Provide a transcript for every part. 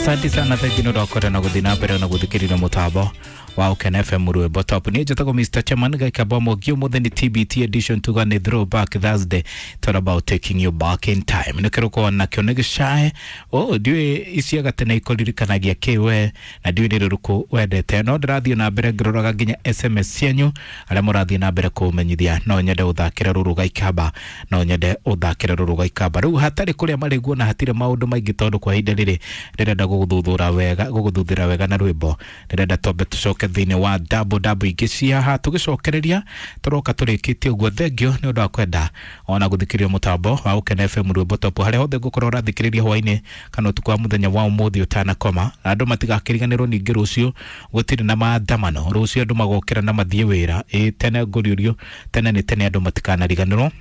Asante sana thengio nä ũndũ na gũthiĩ na mbere na gũthikĩrĩria mũtambo wa Ũkena FM rwĩmbo top. Niĩ njĩtagwo Mr. Chairman Gaikamba Mwangi. Ũmũthĩ nĩ TBT edition, tuga nĩ throwback Thursday, it's all about taking you back in time. Nĩ kĩrũko nakĩo nĩ gĩcae o ndiũĩ icia gatene ikũririkanagia kĩ we na ndiũĩ nĩ rũrũkũ wendete, no ndĩrathiĩ na mbere ngĩroraga nginya SMS cianyu arĩa mũrathiĩ na mbere kũmenyithia. No nyende ũthakĩre rũrũ Gaikamba, no nyende ũthakĩre rũrũ Gaikamba. Rĩu hatarĩ kũrĩa marĩguo na hatirĩ maũndũ maingĩ, tondũ kwa ihinda rĩrĩ ndĩrenda gũgũthuthura wega, gũgũthuthĩra wega na rwĩmbo. Ndĩrenda twambe tũcoke thĩinĩ wa double double ingĩ cia haha, tũgĩcokereria tũroka tũrĩkĩtie ũguo. Thengio nĩ ũndũ wa kwenda ona gũthikĩrĩria mũtambo wa Ũkena FM rwĩmbo top harĩa hothe ngũkorwo ũrathikĩrĩria hwainĩ kana ũtukũ wa mũthenya wa ũmũthĩ ũtanakoma. Andũ matigakĩriganĩrwo ningĩ rũciũ gũtirĩ na maandamano, rũciũ andũ magokĩra na mathiĩ wĩra. Ĩ tene ngũriũrio tene nĩ tene, andũ matikanariganĩrwo.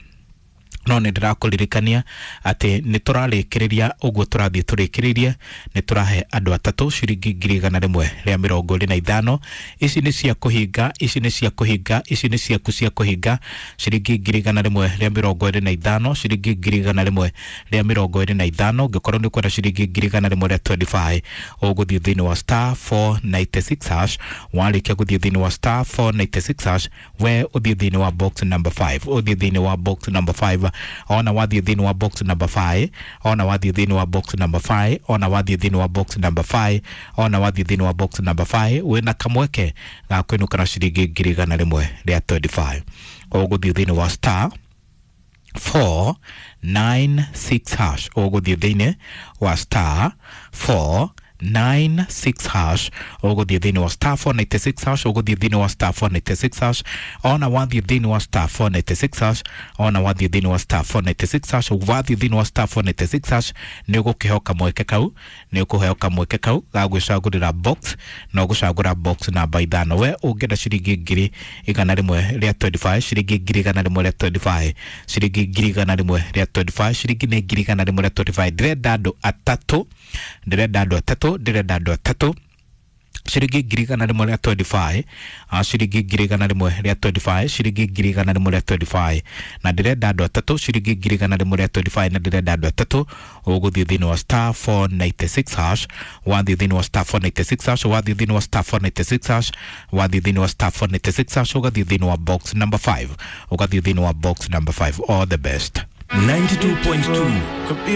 No nä ndärakåririkania atä nä tå rarä kä rä ria å guo tå rathiä tå rä kä rä irie nä tå rahe andå atatå ciringi 125,000. Ici nä cia kå hinga, ici nä cia kå hinga, ici nä ciaku cia kå hinga. Ciringi 125,000, ciringi 125,000. Ngä korwo nä kwenda ciringi 125,000, å gå thiä thä inä wa *496#. Warä kia gå thiä thä inä wa *496# we å thiä thä inä wa box number 5, å thiä thä inä wa box number 5. Ona wathiĩ thĩinĩ wa box number 5, ona wathiĩ thĩinĩ wa box number 5, ona wathiĩ thĩinĩ wa box number 5, ona wathiĩ thĩinĩ wa box number 5, wĩna kamweke ga kũinũka na ciringi 125,000. Ũgũthiĩ thĩinĩ wa *496#, ũgũthiĩ thĩinĩ wa *496#, ũgũthiĩ thĩinĩ wa *496#, ũgũthiĩ thĩinĩ wa *496#. Ona wathiĩ thĩinĩ wa *496#, ona wathiĩ thĩinĩ wa *496#, wathiĩ thĩinĩ wa *496# nĩ ũgũkĩheo kamweke kau, nĩ ũkũheo kamweke kau ga gwĩcagũrĩra box, na ũgũcagũra box namba 5. We ũngĩenda ciringi 125,000, ciringi 125,000, ciringi 125,000, ciringi nĩ 125,000. Ndĩrenda andũ atatũ, ndĩrenda andũ atatũ, ndĩrenda andũ atatũ, ciringi 125,000, ciringi 125,000, ciringi 125,000, na ndĩrenda andũ atatũ, ciringi 125,000, na ndĩrenda andũ atatũ. Ũgũthiĩ thĩinĩ wa *496#, wathiĩ thĩinĩ wa *496#, wathiĩ thĩinĩ wa *496#, wathiĩ thĩinĩ wa *496#, ũgathiĩ thĩinĩ wa box number 5, ũgathiĩ thĩinĩ wa box number 5. All the best. 92.2.